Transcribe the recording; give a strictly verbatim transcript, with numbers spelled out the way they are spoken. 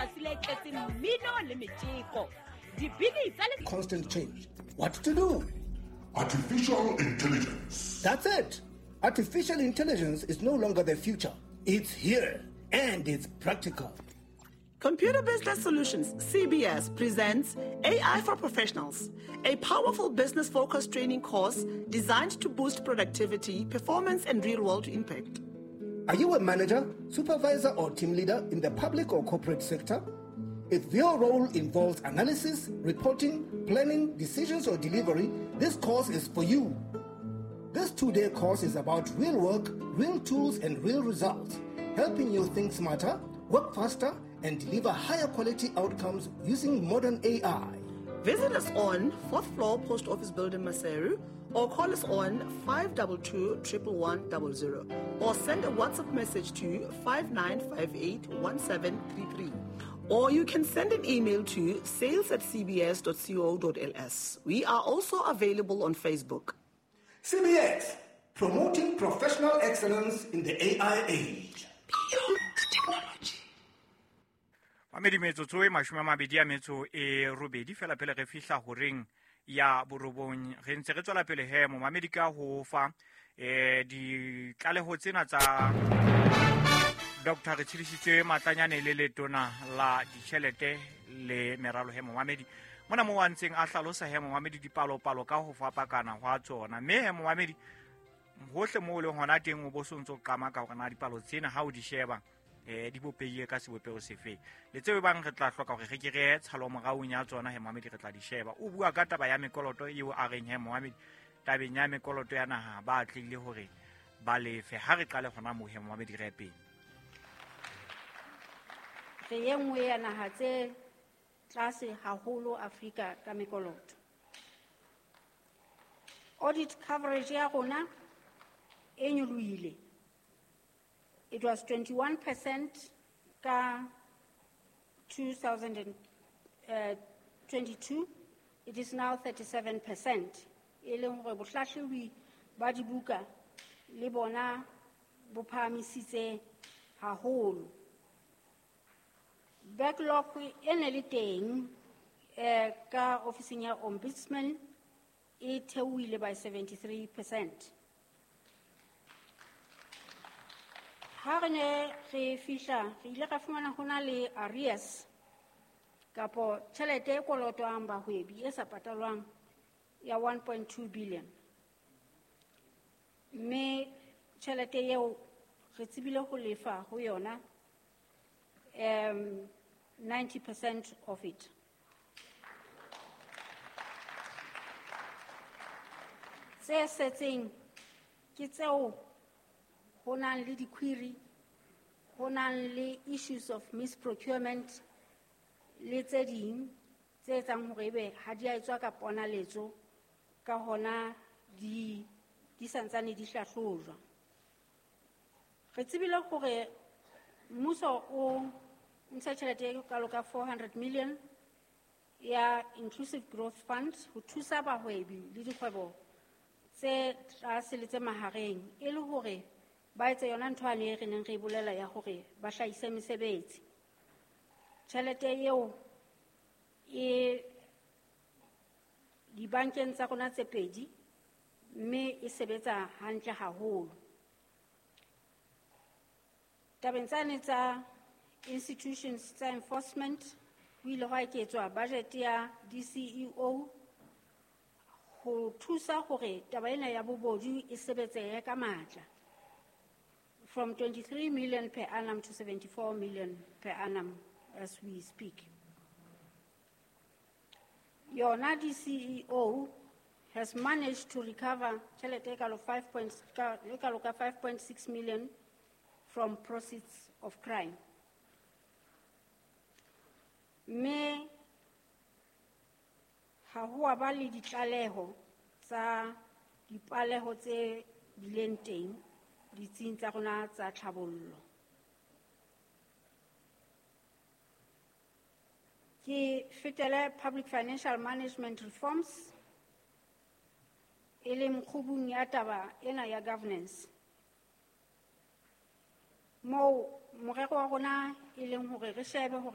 letsatsi le tletseng mmino le metjeko. Dibini tsa le Constant change. What to do? Artificial intelligence. That's it. Artificial intelligence is no longer the future. It's here and it's practical. Computer Business Solutions, C B S, presents A I for Professionals, a powerful business-focused training course designed to boost productivity, performance, and real-world impact. Are you a manager, supervisor, or team leader in the public or corporate sector? If your role involves analysis, reporting, planning, decisions, or delivery, this course is for you. This two-day course is about real work, real tools, and real results, helping you think smarter, work faster, and deliver higher quality outcomes using modern A I. Visit us on fourth floor Post Office Building, Maseru, or call us on five two two, triple one, double zero, or send a WhatsApp message to five nine five eight, one seven three three. Or you can send an email to sales at c b s dot co dot l s. We are also available on Facebook. C B S, promoting professional excellence in the A I age. Beyond technology. Mamedi metsotso e mashome a mabedi a metso e robedi fela pele re fihla horeng ya borobong. Re ntse re tswela pele he momamedi ka ho fa eh ditlaleho tsena tsa Doctor Re Tshedisitse Matlanyane le letona la ditjhelete le meralo he momamedi. Mona mo a ntseng a hlalosa he momamedi dipalopalo ka ho fapakana hwa tsona. Mme he momamedi hohle moo o leng hona teng o bo so ntso qama ka hore na dipalo tsena ha o di sheba eh di bopehile ka sebopeho sefe. Le tseo bang re tla hloka hore re ke re tshalo moraong ya tsona he momamedi re tla di sheba. O bua ka taba ya mekoloto eo a reng he momamedi tabeng ya mekoloto ya naha ba tlile hore ba lefe. Ha re qale hona moo he momamedi re pele. Re e nngwe ya naha tse tlase haholo Afrika ka mekoloto. Audit coverage ya rona e nyolohile. It was twenty-one percent ka two thousand twenty-two. It is now thirty-seven percent. E leng hore bohlahlobi ba dibuka le bona bo phahamisitse haholo. Backlog e ne le teng eh ka ofising ya Ombudsman e theohile by seventy-three percent. Ha re ne re fihla re ile ra fumana ho na le arrears kapo tjhelete e kolotwang bahwebi e sa patalwang ya one point two billion. Mme tjhelete eo re tsebile ho lefa ho yona um ninety percent of it. Tse setseng ke tseo ho nang le di-query, ho nang le issues of misprocurement le tse ding tse etsang hore ebe ha di a etswa ka ponaletso, ka hona di, di santsane di hlahlojwa. Re tsebile hore mmuso o ntsha tjhelete e kalo ka four hundred million ya Inclusive Growth Fund ho thusa bahwebi le dikgwebo tse tlase le tse mahareng e le hore ba etse yona ntho ane e re neng re e bolela ya hore ba hlahise mesebetsi. Tjhelete eo e dibankeng tsa rona tse pedi mme e sebetsa hantle haholo. Tabeng tsane tsa institutions tsa enforcement ho ile hwa eketswa budget ya D C E O ho thusa hore taba ena ya bobodu e sebetsehe ka matla. From twenty-three million per annum to seventy-four million per annum as we speak. Yona D C E O has managed to recover tjhelete e kalo five point, e kalo ka five point six million from proceeds of crime. Mme ha ho a ba le ditlaleho tsa dipaleho tse bileng teng ditsing tsa rona tsa tlhabollo. Ke fetele public financial management reforms e leng kgubung ya taba ena ya governance. Moo morero wa rona e leng hore re shebe hore